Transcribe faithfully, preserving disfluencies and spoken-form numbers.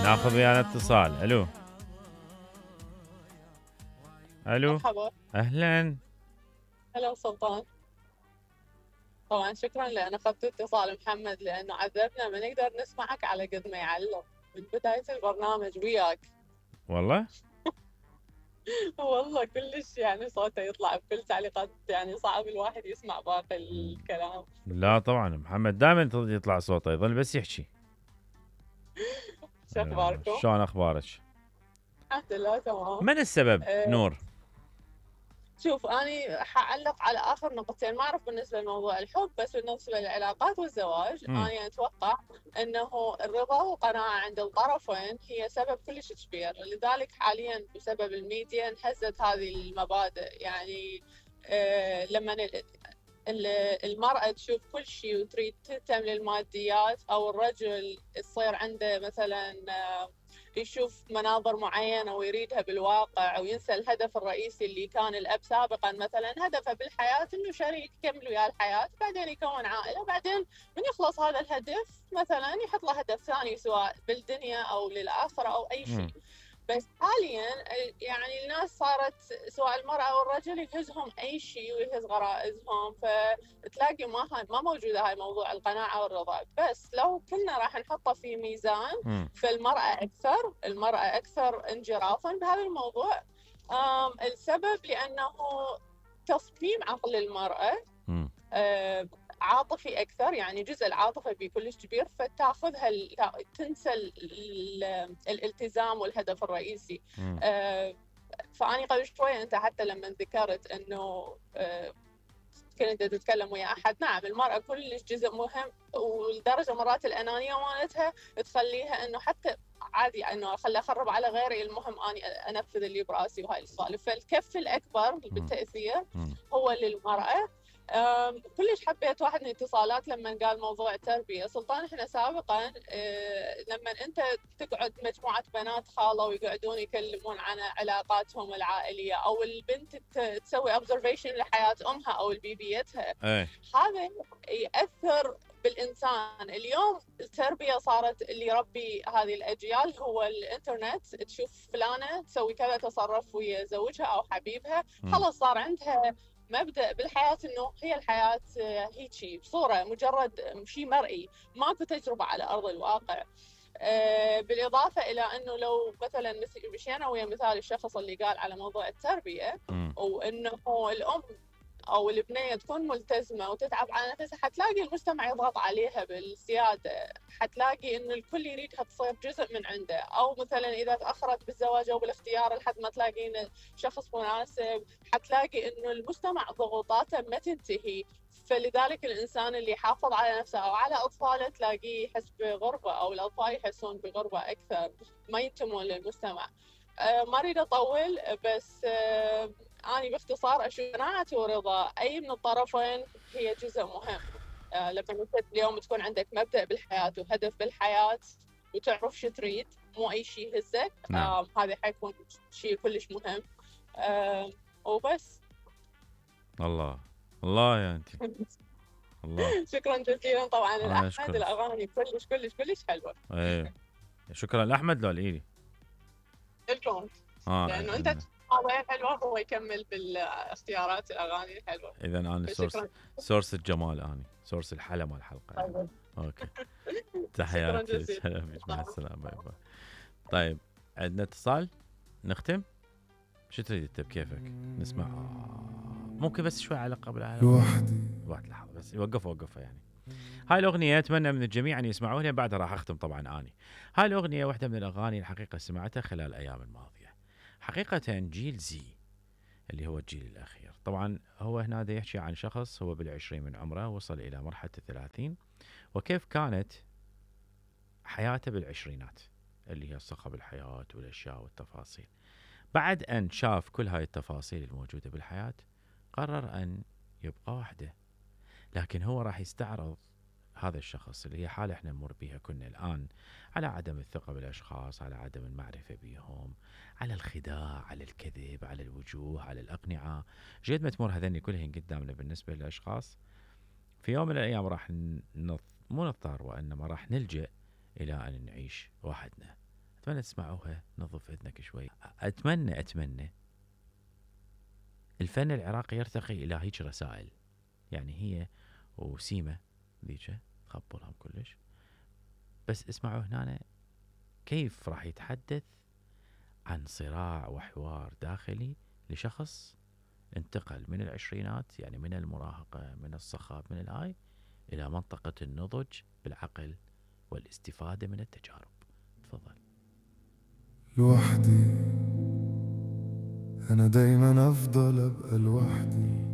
ناخذ ويانا اتصال. الو الو مرحبا. اهلا. هلا سلطان. طبعا شكرا لان اخذت اتصال محمد لانه عذبنا ما نقدر نسمعك على قد ما يعلق من بدايه البرنامج وياك. والله والله كلش يعني صوته يطلع بكل تعليقات، يعني صعب الواحد يسمع باقي الكلام. لا طبعا محمد دائما يطلع صوته، يظل بس يحكي. شو آه، اخباركم؟ شلون اخبارك؟ الحمد لله تمام. من السبب أه نور؟ شوف اني حاعلق على اخر نقطتين، ما اعرف بالنسبه لموضوع الحب، بس بالنسبه للعلاقات والزواج مم. انا اتوقع انه الرضا والقناعه عند الطرفين هي سبب كلش كبير، لذلك حاليا بسبب الميديا انهزت هذه المبادئ. يعني آه لما المرأة تشوف كل شيء وتريد تهتم للماديات، أو الرجل تصير عنده مثلا آه، يشوف مناظر معينة ويريدها بالواقع وينسى الهدف الرئيسي اللي كان الأب سابقا، مثلا هدفه بالحياة إنه شريك يكمل وياه الحياة، بعدين يكون عائلة، بعدين من يخلص هذا الهدف مثلا يحط له هدف ثاني سواء بالدنيا أو للآخرة أو أي مم. شيء. بس حاليا يعني الناس صارت سواء المرأة أو الرجل يهزهم أي شيء ويهز غرائزهم، فتلاقي ما هاي ما موجودة هاي موضوع القناعة والرضا. بس لو كنا راح نحطه في ميزان، مم. فالمرأة أكثر المرأة أكثر انجرافا بهذا الموضوع. السبب لأنه تصميم عقل المرأة مم. آه، عاطفي اكثر، يعني جزء العاطفه بيه كلش كبير، فتاخذها تنسى ال ال الالتزام والهدف الرئيسي. آه، فاني قبل شويه انت حتى لما ذكرت انه آه، كنت تتكلم ويا احد، نعم المراه كلش جزء مهم، ولدرجه مرات الانانيه مالتها تخليها انه حتى عادي انه خلي اخرب على غيري، المهم اني انفذ اللي براسي وهاي السوالف. فالكف الاكبر بالتاثير هو للمراه. كلش حبيت واحد من الاتصالات لما قال موضوع التربيه. سلطان احنا سابقا لما انت تقعد مجموعه بنات خاله ويقعدون يكلمون عن علاقاتهم العائليه، او البنت تسوي اوبزرفيشن لحياه امها او البيبيتها، هذا ياثر بالانسان. اليوم التربيه صارت اللي يربي هذه الاجيال هو الانترنت. تشوف فلانه تسوي كذا تصرف ويا زوجها او حبيبها، خلاص صار عندها مبدأ بالحياة إنه هي الحياة هيجي بصورة مجرد شيء مرئي، ماكو تجربة على أرض الواقع. بالإضافة إلى أنه لو مثلا مشينا ويا مثال الشخص اللي قال على موضوع التربية، وأنه الأم او البنيه تكون ملتزمه وتتعب على نفسها، حتلاقي المجتمع يضغط عليها بالزياده، حتلاقي انه الكل يريدها تصير جزء من عنده، او مثلا اذا تاخرت بالزواج او بالاختيار لحد ما تلاقين شخص مناسب، حتلاقي انه المجتمع ضغوطاته ما تنتهي. فلذلك الانسان اللي يحافظ على نفسه او على اطفاله تلاقيه يحس بغربه، او الاطفال يحسون بغربه اكثر، ما ينتمون للمجتمع. أه ما اريد اطول، بس أه أنا باختصار أشوف قناعة ورضا أي من الطرفين هي جزء مهم. آه لما أنت اليوم تكون عندك مبدأ بالحياة وهدف بالحياة وتعرف شو تريد، مو أي شيء يهزك، نعم. آه هذا حيكون شيء كلش مهم. آه وبس. الله الله يا أنتي. الله. شكرا جزيلا. طبعا أنا الأحمد أشكرك. الأغاني كلش كلش كلش حلوة. إيه شكرا لأحمد لو الإيدي لكم. آه لأنه أنت إن... مواضيع حلوة، هو يكمل بالاختيارات الأغاني الحلوة. إذا أنا سورس سورس الجمال، أنا سورس الحلا مال الحلقة يعني. طيب. أوكي شكرا تحياتي. جزيلا. سلام مع السلامة. باي باي. طيب عندنا اتصال نختم. شو تريد انت بكيفك نسمع؟ ممكن بس شوي على قبل على لوحدي. واحد لحظة بس وقف وقفها يعني. هاي الأغنية أتمنى من الجميع أن يسمعوها، بعدها راح أختم طبعا أني. هاي الأغنية واحدة من الأغاني الحقيقة سمعتها خلال الأيام الماضية. حقيقة جيل زي اللي هو الجيل الأخير، طبعا هو هنا دا يحكي عن شخص هو بالعشرين من عمره وصل إلى مرحلة الثلاثين، وكيف كانت حياته بالعشرينات اللي هي صخب الحياة والأشياء والتفاصيل. بعد أن شاف كل هاي التفاصيل الموجودة بالحياة قرر أن يبقى وحده. لكن هو راح يستعرض هذا الشخص اللي هي حالة احنا نمر بها كنا الآن، على عدم الثقة بالأشخاص، على عدم المعرفة بهم، على الخداع، على الكذب، على الوجوه، على الأقنعة. جيد ما تمر هذني كلهن قدامنا بالنسبة للأشخاص، في يوم من الأيام راح نض... مو نضطر وإنما راح نلجأ إلى أن نعيش وحدنا، اتمنى تسمعوها نظف اذنك شوي. اتمنى اتمنى الفن العراقي يرتقي الى هيك رسائل، يعني هي وسيمة ذيك تخبرهم كلش، بس اسمعوا هنا كيف راح يتحدث عن صراع وحوار داخلي لشخص انتقل من العشرينات، يعني من المراهقة من الصخب من الهاي إلى منطقة النضج بالعقل والاستفادة من التجارب. تفضل. لوحدي أنا دايما أفضل أبقى لوحدي،